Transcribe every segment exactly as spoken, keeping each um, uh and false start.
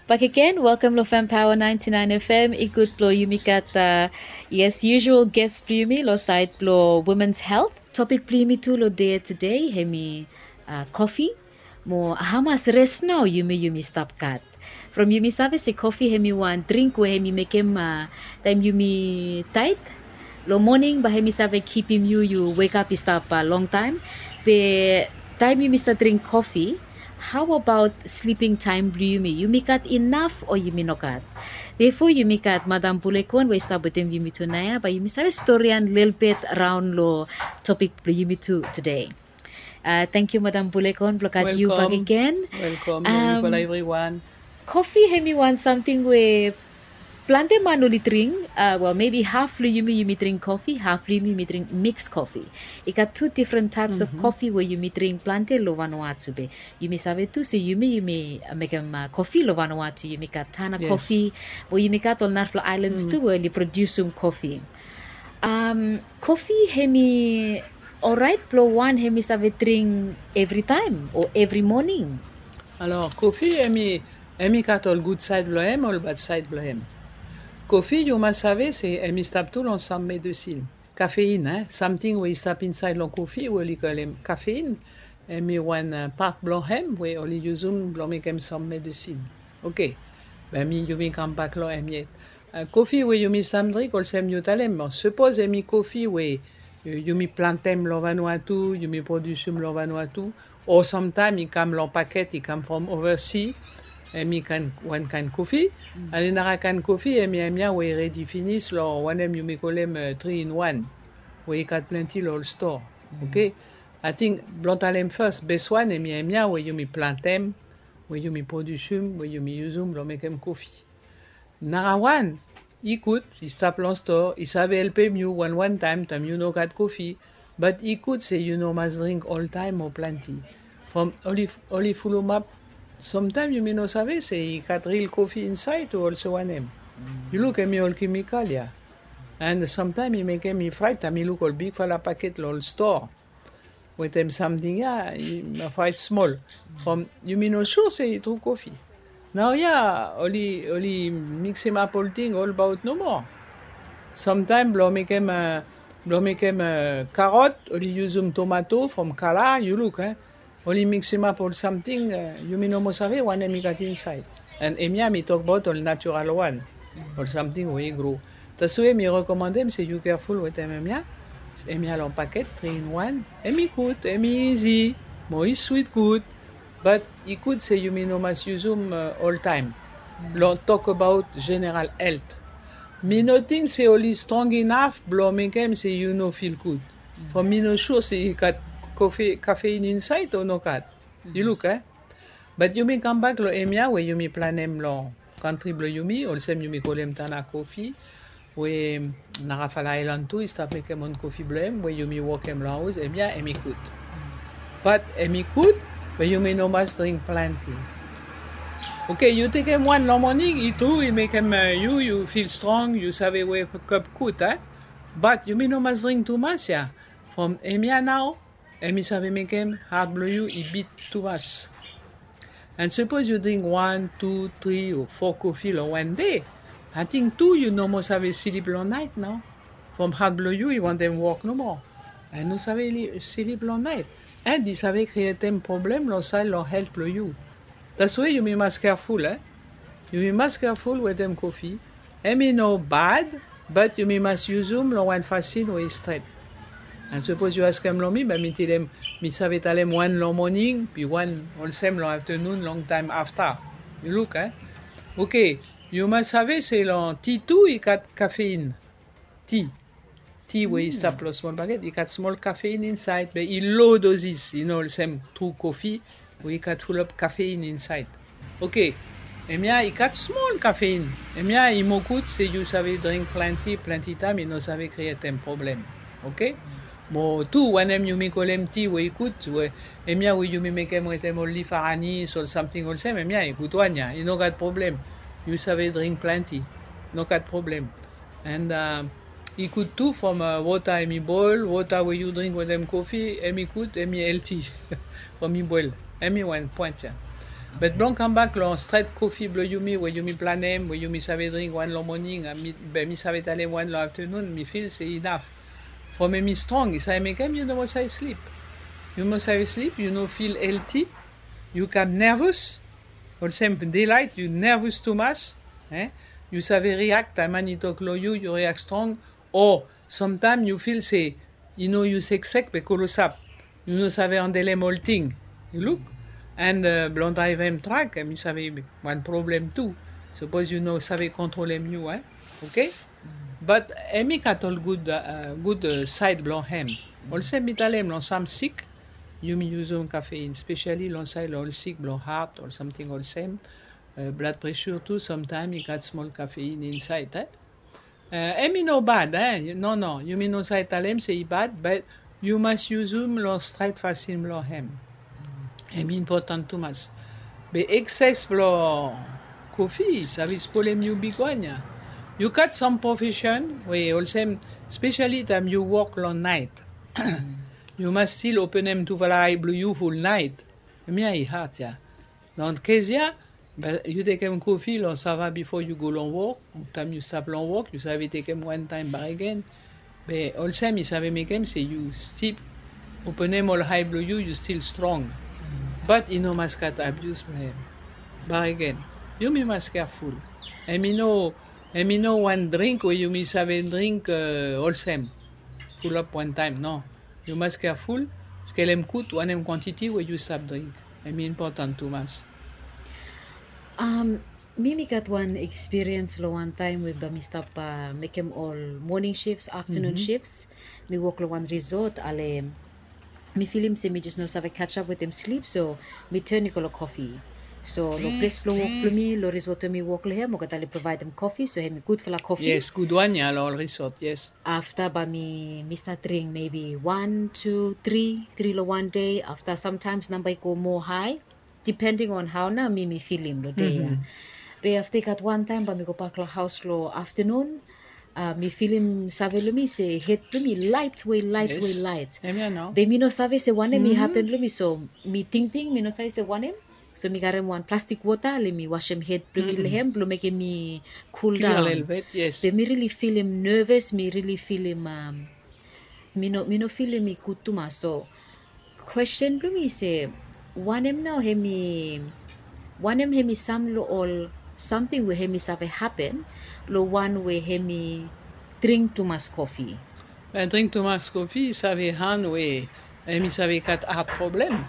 Bakegen, welkam lo Fem Power ninety nine F M. I gud blo yumi gat, uh, yes, usual guest blo yumi lo saed blo women's health. Topik blo yumi tu lo dei tede hemi, uh, kofi. Mo hamas res nao yumi, yumi stap gat. From yumi save se kofi hemi wan dring we hemi mekem, uh, taem yumi taet lo moning, bae hemi save kipim yu, yu wekap i stap, uh, longtaem. Be taem yumi stap dring kofi, hao abaot sliping taem blo yumi? Yumi gat inaf o yumi nogat? Bifo yumi gat Madam Bulekon we i stap wetem yumi tunae ya, bae yumi save storian lelebet raon lo topik blo yumi tu tede. Uh, tangkiu Madam Bulekon blo gat yu bakegen. Welkam. Welkam. Um, evriwan. Kofi hemi wan samting we plante man oli dring, uh, wel, maybe haf lo yumi, yumi dring kofi, haf lo yumi, yumi dring mix kofi. I gat tu difren taeps of kofi we yumi dring plante lo Vanuatu be. Yumi save tu se yumi, yumi, uh, mekem, uh, kofi lo Vanuatu, yumi gat Tana kofi, o yumi gat ol narafala aelans tu we oli produsum kofi. Um, kofi hemi oraet blo wan hemi save dring evritaem o evri moning? Alor, kofi hemi, hemi gat ol gud saed blo hem, ol bad saed blo hem. Kofi yu mas save se hemi stap tu lo sam medesin. Kafein, eh, samting we i stap insaed lo kofi we oli kolem kafein, hemi wan, uh, pat blo hem we oli yusum blo mekem sam medesin. Oke. Be mi, yumi kambak lo hem yet. Uh, kofi we yumi stap dring, olsem yu talem, sapos hemi kofi we, uh, yumi plantem lo Vanuatu, yumi produsum lo Vanuatu, o samtaem i kam lo paket, i kam from ovasi, hemi kaen, wan kaen kofi. Alen nara kaen kofi, hemi, hemia we i redi finis lo wanem yumi kolem, uh, three in one, we i gat plante lo ol stoa. Oke? Ating blo talem fas, bes wan hemi, hemia we yumi plantem, we yumi produsum, we yumi yusum blo mekem kofi. Nara wan, i gud, i stap lo stoa, i save helpem yu wan wan taem, taem yu no gat kofi, bad i gud se yu no mas dring oltaem o plante. From oli, oli fulumap, samtaem yumi no save se i gat ril kofi insaed o olsem wanem. Yu luk, hemi ol kemikal ya. And samtaem i mekem mi fraet taem mi luk ol bigfala paket lo ol stoa wetem samting ya, i, mi fraet smol. From yumi no sua se i tru kofi. Naoia oli, oli miksimap olting olbaot nomo. Samtaem blo mekem, uh, blo mekem, uh, karot, oli yusum tomato from kala, yu luk, eh. Oli miksimap ol samting, uh, yumi no moa save wanem i gat insaed. And hemia mi tokbaot ol natural wan, ol samting we i gro. Taswe mi rekomandem se yu keaful wetem hemia. Hemia lo paket, three in one. Hemi gud, hemi izi, mo i swit gud. Bad i gud se yumi no mas yusum, uh, oltaem. Lo tokbaot jeneral helt, mi no ting se oli strong inaf blo mekem se yu no fil gud. From mi no sua se i gat kofi, kafein insaed o nogat. Yu luk, eh? Bad yumi kambak lo hemia we yumi plantem lo kantri blo yumi, olsem yumi kolem Tana kofi, we narafala aelan tu i stap mekem own kofi blo hem, we yumi wokem lo haos, hemia hemi gud. Bad hemi gud, be yumi no mas dring plante. Oke, yu tekem wan lo moning, i tru, i mekem, uh, yu, yu fil strong, yu save wekap gud, eh? Bad yumi no mas dring tumas ya. From hemia nao, hemi save mekem hat blo yu i bit tumas. And sapos yu dring wan, tu, tri o fo kofi lo wan dei, ating tu yu no moa save slip lo naet nao. From hat blo yu i wantem wok nomo. And no save li-, slip lo naet. And i save krietem problem lo saed lo helt blo yu. Taswe yumi mas keaful, eh? Yumi mas keaful wetem kofi. Hemi no bad, bad yumi mas yusum lo wan fasin we i stret. And sapos yu askem lo mi, be mi talem, mi save talem wan lo moning, be wan olsem lo aftenun, longtaem afta. Yu luk, eh? Oke, yu mas save se lo ti tu i gat kafein. Ti. Ti we i stap lo smol paket, i gat smol kafein insaed, be i lo dozis, i no olsem tru kofi, we i gat fulap kafein insaed. Oke, hemia i gat smol kafein. Hemia i moa gud se yu save dring plante, plante taem i no save krietem problem. Oke? Mo tu wanem yumi kolem ti we i gud, we, hemia we yumi mekem wetem ol lif aranis, ol samting olsem, hemia i gud wan ya, i no gat problem. Yu save dring plante, no gat problem. And, uh, i gud tu from, uh, wota hemi boel, wota we yu dring wetem kofi, hemi gud, hemi helti from i boel. Hemi wan poen ya. But blong kambak long stret kofi blong yumi we yumi planem we yumi save dring wan long moning, be mi save talem wan long aftenun, mi fil se inaf. From em i strong i save mekem yu no moa save slip. Yu moa save slip, yu no fil elti. Yu kam nervus. Olsem delait yu nervus tumas. Yu save riak taem man i tok long yu, yu riak strong. O samtaem yu fil se i no yu seksek be kolosap. Yu no save andelem olting. Yu luk. And blong draevem trak em i save wan problem tu. Sapos yu no save kontrolem yu, e. Oke. Bat em i gat ol gud gud saed blong hem. Olsem mi talem long sam sik, yumi yuzum kafein spesiali long saed long ol sik blong hat ol samting olsem. Blad presur tu samtaem i gat smol kafein insaed. Em i no bad, e. Nono, yumi no save talem se i bad, bat yu mas yuzum long stret fasin blong hem. Em i impotan tumas. Be ekses blong kofi i save spolem yu bigwan ya. Yu gat sam profesen we olsem, spesiali taem yu wok long naet, yu mas stil openem tufala ae blong yu ful naet. Em ya i hat ya. Long kes ya, be yu tekem kofi long sava bifo yu go long wok. Taem yu stap long wok yu save tekem wantaem bakegen. Be olsem i save mekem se yu stip openem ol ae blong yu, yu stil strong. Bat i no mas gat abius blong hem. Bakegen, yumi mas keaful. Em i no em i no wan dring we yumi save dring olsem, fulap wantaem, no. Yu mas keaful. Skelem gud wanem kwantiti we yu stap dring. Em i impotan tumas. Mi mi gat wan ekspiriens long wan taem we bae mi stap mekem ol moning shifs, aftenun shifs. Mi wok long wan risot ale mi filim se mi jes no save kajap wetem slip, so mi ten i go long kofi. So long ples blong wok blong mi long risot we mi wok long hem olgeta oli provaedem kofi, so hem i gudfala kofi. Yes, gudwan ya long ol risot, yes. Afta bae mi mi stat dring mebi wan tu tri, tri long wan dei. Afta samtaems namba i go moa hae, dipending on hao nao mi mi filim long dei ya. Be afta i gat wantaem bae mi gobak long haos long aftenun. Mi filim save long mi se hed blong mi laet we laet we laet. Be mi no save se wanem i hapen long mi, so mi tingting mi no save se wanem. So mi karem wan plastik wota le mi wasem hed blong mi long hem blong mekem mi kuldaon. Be mi rili filim neves, mi rili filim mi no mi no filim i gud tumas. So kwesten blong mi se, wanem nao hem i wanem hem i sam long ol samting we hem i save hapen long wan we hem i dring tumas kofi? Dring tumas kofi i save han we hem i save gat hat problem.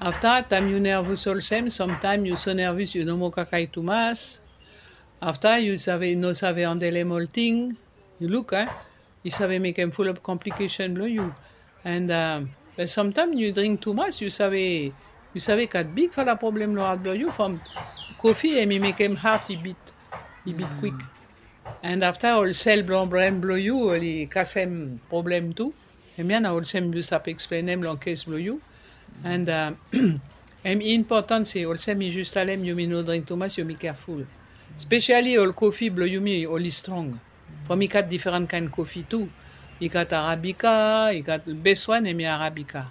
Afta taem yu nervus olsem samtaem yu so nervus yu no moa kakae tumas. Afta yu save no save andelem olting. Yu luk a i save mekem fulap komplikesen blong yu. And samtaem yu dring tumas yu save yu save gat bigfala problem long hat blong yu from kofi em i mekem hat i bit i bit kwik. And afta ol sel blong bren blong yu oli kasem problem tu. Em ya na olsem yu stap eksplenem long kes blong yu. And em i impotan se olsem mi jus talem yumi no dring tumas yumi keaful. Spesiali ol kofi blong yumi oli strong. From i gat diferan kaen kofi tu. I gat arabika, i gat bes wan em i arabika.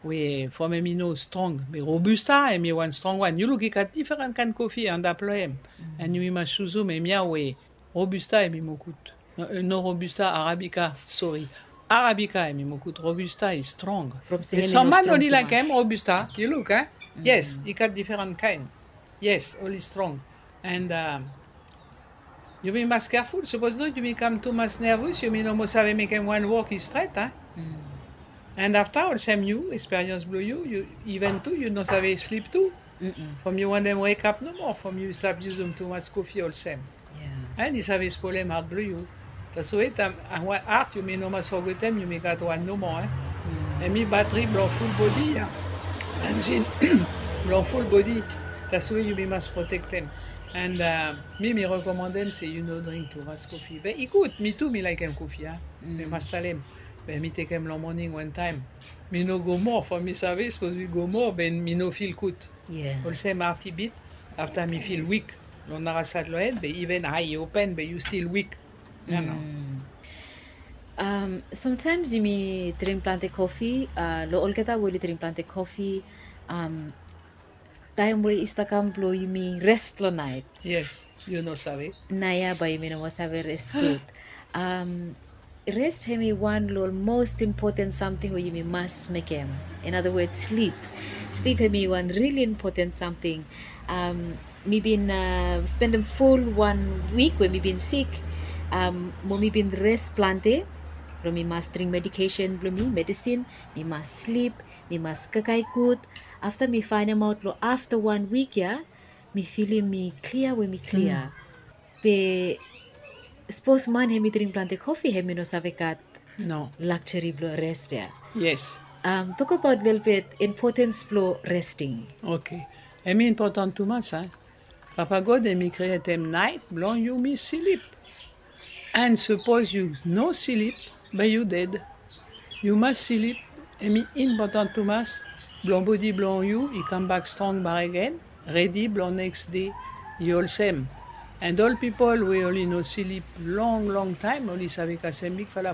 We from em i no strong be robusta em i wan strong wan yu luk i gat diferan kaen kofi antap long em. And yumi mas juzum em ya we robusta em i moa gud. No robusta, arabika. Sori. Arabika em i moa gud, robusta i strong. Sam man oli laekem robusta. Yu luk a yes i gat diferan kaen. Yes oli strong. And yumi mas keaful sapos not yumi kam tumas nervus yumi no moa save mekem wan wok i stret a. And afta olsem yu eksperians blong yu yu iven tu yu no save slip tu. From yu wantem wekap nomo from yu stap yusum tumas kofi olsem. And i save spolem hat blong yu. Tasoe taem wan hat yumi no mas fogetem yumi gat wan nomo. Em i batri blong ful bodi ya. Enjin blong ful bodi. Tasoe yumi mas protektem. And mi mi rekomandem se yu no dring tumas kofi be i gud mi tu mi laekem kofi a. Mi mas talem be mi tekem long moning wantaem. Mi no go moa from mi save sapos mi go moa be mi no fil gud. Olsem hat i bit. Afta mi fil wik long narasad long en be iven ae i open be yu stil wik. Samtaems yumi dring plante kofi. Long olgeta we oli dring plante kofi, Taem we i stap kam blong yumi res long naet. Yes, yu no save. Naoia bae yumi no moa save res gud. Am, res hemi wan long ol most impoten samting we yumi mas mekem. In other words, slip. Slip hemi wan rili impoten samting. Am, mi bin spendem ful wan wik we mi bin sik. Am, mo mi bin res plante. Blong mi mas dring medikesen blong mi, medisin. Mi mas slip, mi mas kakae gud. Afta mi faenemaot long afta wan wik ya, mi filim mi klia we mi klia. Be sapos man hemi dring plante kofi, hemi no save gat lakseri blong res ya. Yes. Am, tokbaot lelebet impotens blong resting. Oke. Hemi impoten tumas, a? Papa God hemi krietem naet blong yumi slip. An sapos yu no slip, bae yu ded. Yu mas slip, hemi impoten tumas blong bodi blong yu i kambak strong bakegen, redi blong neks dei i olsem. An ol pipol we oli no slip long long taem, oli save kasem bigfala